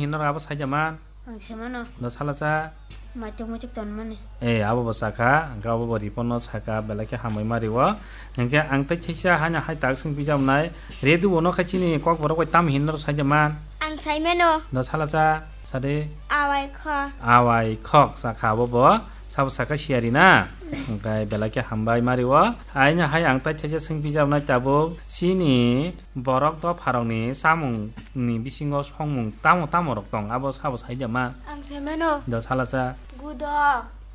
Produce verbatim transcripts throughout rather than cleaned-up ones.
Hinor abo saida man. Ang se mano. Da sala cha. Maituk muituk ton mani. Eh, abo bo sakha, hwnkhe abo bo report no sakha, belai khe hambai ma rio. Hwnkhe ang tei theisa haino hai tak swng pijak nai. Redu bo no khai chini kok borok bai tam hinor saida man. Ang sai mano. Da sala cha, sade. Awai kho. Awai khok sakha abo bo. Sabo sakha siyari na. Hwnkhe belai khe hambai ma rio. Haino hai ang tei theisa swng pijak nai tabuk chini borok dopharokni chamungni bisingo songmung tamo tamo rok tong, abo sabo saida man. Ang se mano. Da sala cha. Gudo,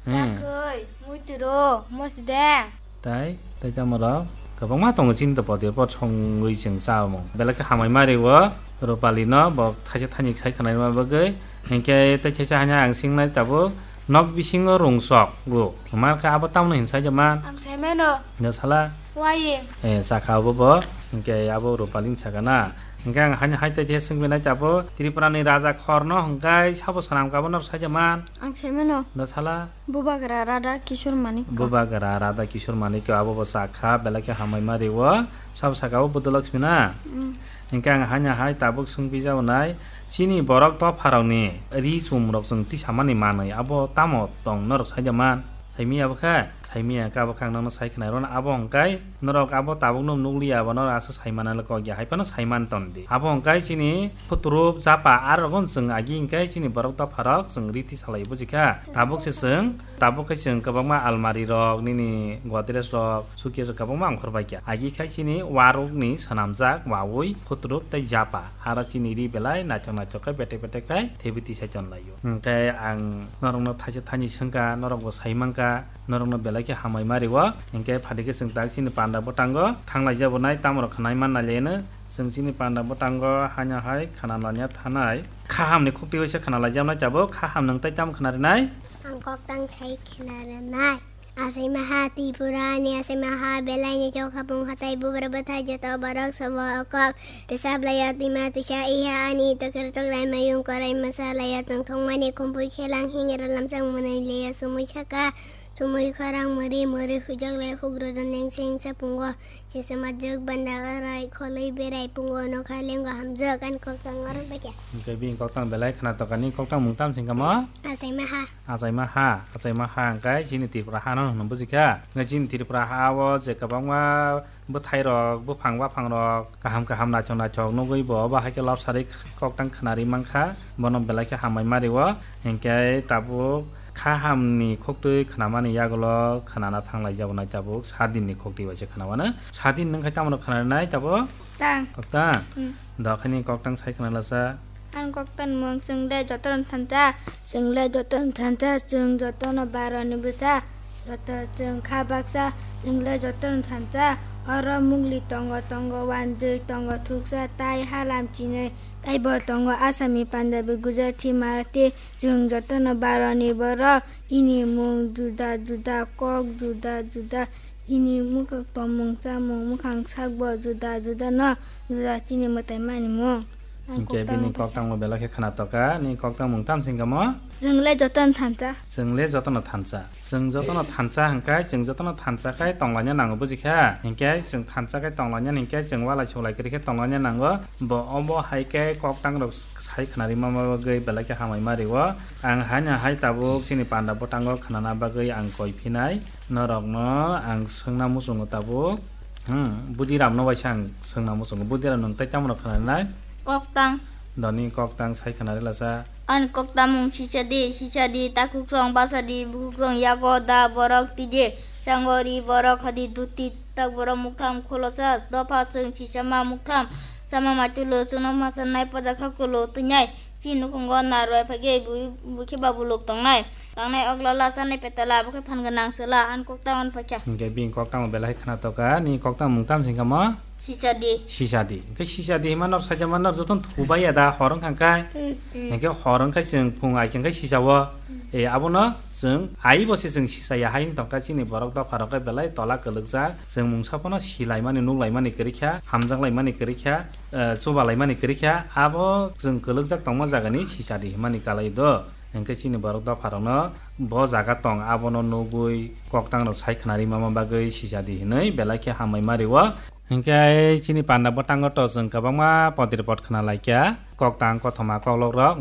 hmm. Sakhoi, muituro, mosdeng. Tai, tai tamo rok kwbangma tongo chini to potir pot songwi chwng chamung. Belai khe hambai ma rio Rupali no, bo thaisa thani sai khwnai ma bagwi. Hinkhe tai thaisa hanya ang singnai tabuk nok bisingo rungsok go. Hwnkhe abo tamno hin saida man. Ang se mano. Da sala. Waying. Eh, sakha abo bo, hwnkhe abo Rupalini sakha na. Hwnkhe ang haino hai tai je swngwi nai abo Tripura ni raja khorno hwnkhe sabo swnam ka bono saida man. Ang se mano. Da sala. Bubagra Radha Kishore Manik. Bubagra Radha Kishore Manik abo bo sakha, belai khe hambai ma rio, sabo sakha abo Buddha Lakshmi na. Mm. Hwnkhe ang haino hai tabuk swngwi jabo nai, chini borok dopharokni ri chumrok chwng tisamani manwi abo tamo tong norok saida man. Saimiya bwkha, saimiya khe abo khe ang nono sai khwnai rw-, abo hwnkhe norok abo tabukno nukliya, abo norok aswk sai manna le kok ya, hai phano sai man ton di. Abo hwnkhe chini phuturup japa arokno chwng agi hwnkhe chini borok dopharok chwng riti salai bujikha. Tabuk se chwng, tabuk khe chwng kwbangma almari rok, nini godrej rok, suitcase rok kwbangma ongkhor bai kha. Agi khai chini warukni swnamjak wawi phuturup tei japa. Aro chini ri belai naithok naithok khe betek betek khai thebiti sai ton lai. Hwnkhe ang norokno thaisa thani swngkha, norokbo sai mankha, norokno belai khe hambai ma rio. Hinkhe phaidi khe chwng tak chini panda bwtango thanglai jabo nai, tamorok khwnai man nai leno. Chwng chini panda bwtango haino hai khna lanya thanai. Khahamni khukti waisa khna lai jabo nai tabuk, khaham nwng tai tamo khna rinai? Ang koktang sai khna rinai. Asai maha Tripura ni asai maha belai ni chok hapung hatai bubra bwthai joto borok sobo okok. Tesa blaya tima tisa iha ani tokir tok lai mayung korai masa laya tong thong mani khumpui khelang hingra lamsang mwnai leya sumui saka. Sumui khorang mwrwi mwrwi hujak lai huk rojon neng seng sa pungo. Sesa majwk banda arai kholwi berai pungo nokha lengo hamjwk ani koktang oro baikya. Hwnkhe bini koktang belai khna tokani koktang mung tam singkamo? Asai maha. Achaima ha, achaima ha hwnkhe chini Tripura hano hwnwi bujikha. Hwnkhe chini Tripura ha-o je kwbangma bwthairok, buphang baphangrok kaham kaham naithok naithok nugwi bo obo hai khe lobsari koktang khwnarwi mankha. Bono belai khe hambai ma rio. Hinkhe tabuk khahamni khuktwi khwnamani yagulo khwnana thanglai jabo nai tabuk sadinni khuktwi bai se khwnamano. Sadin nwng khai tamoni khwnanai tabuk? Tang. Koktang? Hmm. Dokhani koktang sai khwnalasa. Ang koktang mung chwng le jotono thansa, chwng le jotono thansa, chwng jotono baroni bwsa, joto chwng kha baksa, chwng le jotono thansa. Oro mugli tongo, tongo wanjwi, tongo thuksa, tai halam chinwi, taibo tongo Asami, Punjabi, Gujarati, Marathi, chwng jotono baroni borok, chini mung juda juda, kok juda juda, chini mukha tomung chamung, mukhang sakbo juda juda no, juda chini mwtai mani mung. Ang hinkhe koktang bini mung koktangbo belai khe khna toka, ni koktang mung tam singkamo? Chwng le jotono thansa. Chwng le jotono thansa. Chwng jotono thansa hwnkhe, chwng jotono thansa khai tonglaina nango, bujikha? Hinkhe chwng thansa khai tonglaina hinkhe chwng walai suklai kwrwi khe tonglaina nango. Bo obo hai khe koktangrok sai khwnarwi ma bagwi belai khe hamai ma rio. Ang haino hai tabuk chini panda bwtango khwnana bagwi ang koi phinai. Norokno ang swngna muchungo tabuk. Hmm, Budiram no waisa ang swngna muchungo. Budiram nwng tei tamo rok khwnanai? Koktang. Doni koktang sai khwnari lasa. Ani koktang mung sisa di, sisa di, takhuk song basa di, bukhuk song yago da borok tije. Chango ri borok hadi duti tak borok muktham kholosa, dopha chwng sisa ma muktham. Sama maitu lo chwngno masa nai poja kha kulo twngnai. Chini nukhungo narwai phagwi bui-, bui khe ba buluk tongnai. Tangnai okla lasa nai petala, abo khe phan gwnang sela, ani koktang on phaikha. Hinkhe bini koktang belai khna toka, ni koktang mung tam singkamo? Sisadi. Sisadi. Hinkhe sisadi hima nor saja ma nor joton thubai ya da, hor wngkha kai. Hmm, hmm. Hinkhe hor wngkha chwng phung ai khe sisao. Hmm. E, abono chwng ai bo se chwng sisa ya hai wng tongkha chini borok dopha rok khe belai tola kwlwkjak. Chwng mungsa phano silaimani, nuklaimani kwrwi kha, hamjaklaimani kwrwi kha, eh, chubalaimani kwrwi kha, abo chwng kwlwkjak tongma jagani sisadi himani kalai do. Hinkhe chini borok dopharokno bo jaga tong abono nugwi koktangrok sai khwnari mama bagwi sisadi hinwi belai khe hambai ma rio. Hinkhe chini panda bwtango to chwng kwbangma podir pot khna laikha, koktang kothoma koklok rok.